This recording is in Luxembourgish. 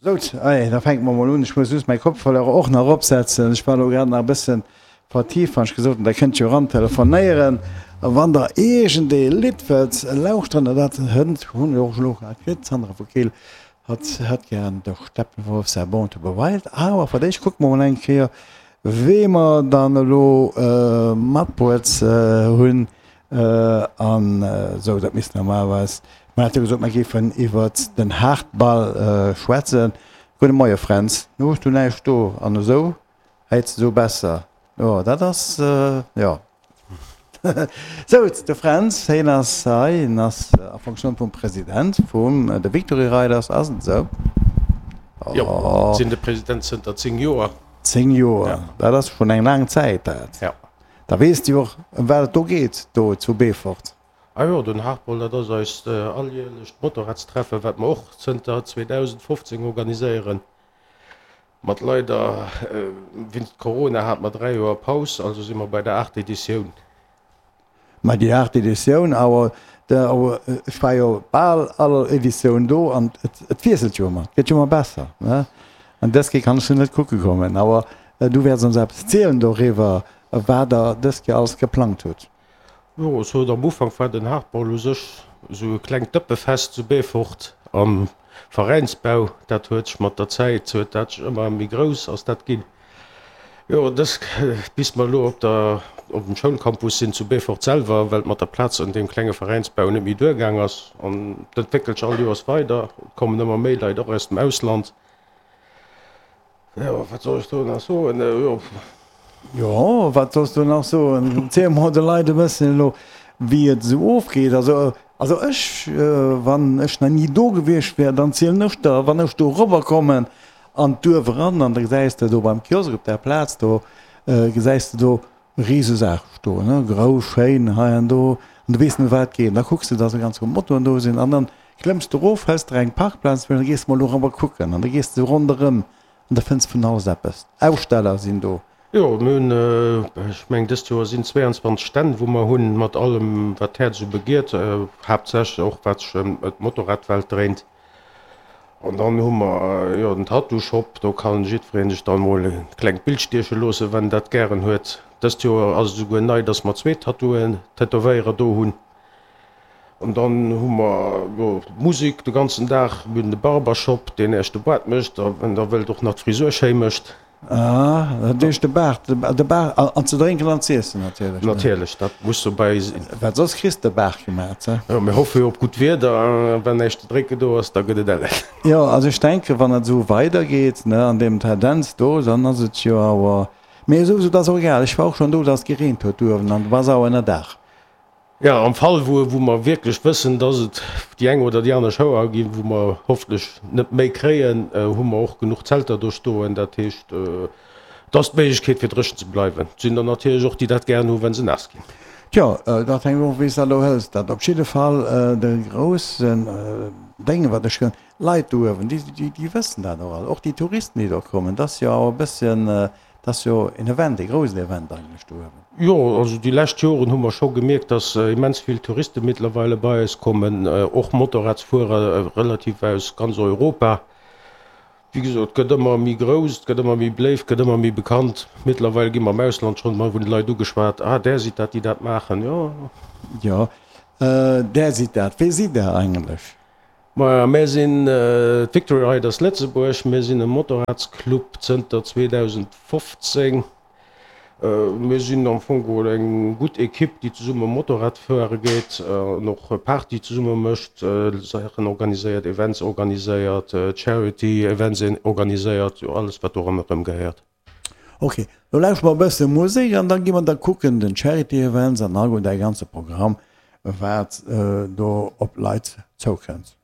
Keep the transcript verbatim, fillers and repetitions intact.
Sout, allez, da fänke mer mol un. Ech muss just mäi Kopfhörer och nach opsetzen. Ech war elo grad nach e bëssen vertieft, wann ech gesot hunn, Der kënnt jo eran telefonéieren, wann Der iergendee Lidd wëllt lauschteren. An dat hënt hunn ech och elo grad kritt, d'Sandra vu Keel, hatt hätt gären de Steppenwolf, säi Born to be Wild. Awer fir d'éischt kucke mer mol eng Kéier, wee mer dann elo matbruet hunn. An esou, dat misst normalerweis, mer hate gesot, mer géifen iwwert den Haardball schwätzen. Gudde Moie Fränz, nu hues du näischt do an esou häits de esou besser. Jo, dat ass, jo. Sou, de Fränz, hien ass hei, hien ass a Fonctioun vum President vum de Victory Riders, ass et esou? Jo, sinn de President zënter zéng Joer. Zéng Joer, dat ass schonn eng laang Zäit dat. Jo. Da weess de jo och, ëm wat et do geet, do zu Beefort. Ah jo, den Hardball, dat ass eist alljährlecht Motorradstreffen, wat mer och zënter zweedausendfofzéng organiséieren. Mat leider, wéinst Corona hate mer dräi Joer Paus, also si mer bei der aacht Editioun. Mä déi aacht Editioun, awer ech war jo bal all Editioun do an et wiesselt jo ëmmer, et gëtt jo ëmmer besser, ne? An dës Kéier kann ech se net kucke kommen, awer du wäerts ons eppes zielen doriwwer, wat der dës Kéier alles geplangt hutt. Jo, ech sot am Ufank war den Hardball u sech esou e klengt Dëppefest zu Beefort am Veräinsbau. Dat huet sech mat der Zäit huet dat sech ëmmer méi grouss ass dat ginn. Jo, dës bis mer elo op der op dem Schoulcampus sinn zu Beefort selwer, well et mat der Plaz an deem klenge Veräinsbau net méi duergaang ass. An et entwéckelt sech all Joers weider, et kommen ëmmer méi Leit och aus dem Ausland. Jo, wat soll ech do nach soen? Jo. Jo, wat solls du nach soen? Ziel mol de Leit e bësschen elo, wéi et esou ofgeet. Also, also ech, wann ech nach ni do gewiescht wär, dann zielen ech der, wann ech do erobber kommen an d'Duerf eran, an da gesäis de do beim Kiosk op där Plaz do, gesäis de do Risesaach stoen, ne, grouss, schéin, hei an do, an du weess net, ëm wat et geet. An da kucks de, dass e ganz vill Motoen do sinn, an dann klëmms de erof, hëls der eng Parkplaz, an da gees de mol dorobber kucken, an da gees de ronderëm. An da fënns vun alles eppes. Aussteller sinn do. Jo, mir hunn, ech mengen dëst Joer sinn zwéianzwanzeg Stänn, wou mer hunn, mat allem wat d'Häerz esou begiert, haaptsächlech och wat sech ëm d'Motorradwelt dréint. An dann hu mer jo den Tattoo Shop, do kann jiddweree sech dann emol e klengt Bild stieche loossen, wann en dat gären huet. Dëst Joer ass et esouguer nei, dass mer zwee Tattooen, Tätowéierer do hunn. An dann hu mer jo d'Musek de ganzen Dag. Mir hunn de Barbershop, deen Iech de Baart mécht a wann Der wëllt och nach d'Frisur schéi mécht. Ah, dat heescht de Baart, de Baart an ze drénken an z'iessen natierlech. Natierlech, dat muss dobäi sinn. Well soss kriss de Baart gemat, he? Jo, mir hoffe jo op gutt Wieder a wann näischt ze drénken do ass, da gëtt et ellen. Jo, also ech denken, wann et esou weidergeet, ne, an deem Tendenz do, dann ass et jo awer, mee esou, esou, dat ass och egal. Ech war och schonn do, dass et gereent huet uewen an du bass awer ënnerdaach. Jo, am Fall wou wou mer wierklech wëssen, dass et déi eng oder déi aner Schauer ginn, wou mer hoffentlech net méi kréien, hu mer och genuch Zelter do stoen. Dat heescht, et ass d'Méiglechkeet fir dréchen ze bleiwen. Et sinn der natierlech och, déi dat gären hu wa se naass ginn. Tjo, dat hänkt of wéi s dat elo hëls. Dat op jidde Fall de groussen Dénge wat ech hunn, Leit do uewen, déi déi wëssen dat och all, och déi Touristen déi do kommen, dat ass jo awer e bësschen, Dat ass jo en Event, e groussen Event eigentlech do uewen. Jo, also déi lescht Joren hu mer scho gemierkt, dass immens vill Touriste mittlerweile bei eis kommen, och Motorradsfuerer relativ aus ganz Europa. Wéi gesot, et gëtt ëmmer méi grouss, et gëtt ëmmer méi beléift, et gëtt ëmmer méi bekannt. Mittlerweile gi mer am Ausland schonn mol vun de Leit ugeschwat, Ah, där sidd dat, déi dat maachen, jo. Jo, där sidd dat. Wee sidd Der eigentlech? Maja, mär sinn d'Victory Riders Lëtzebuerg. Mir sinn e Motorradsclub zënter zweedausendfofzéng. Mir sinn am Fong geholl eng gutt Ekipp, déi zesumme Motorrad fuere geet an och Party zesumme mécht, Saachen organiséiert, Events organiséiert, Charity Events organiséiert, jo alles wat do ronderëm gehéiert. Ok, lo lauschteren mer e bësse Musek an da gi mer da kucken den Charity Events an alleguer däi ganze Programm, wat do op d'Leit zoukënnt.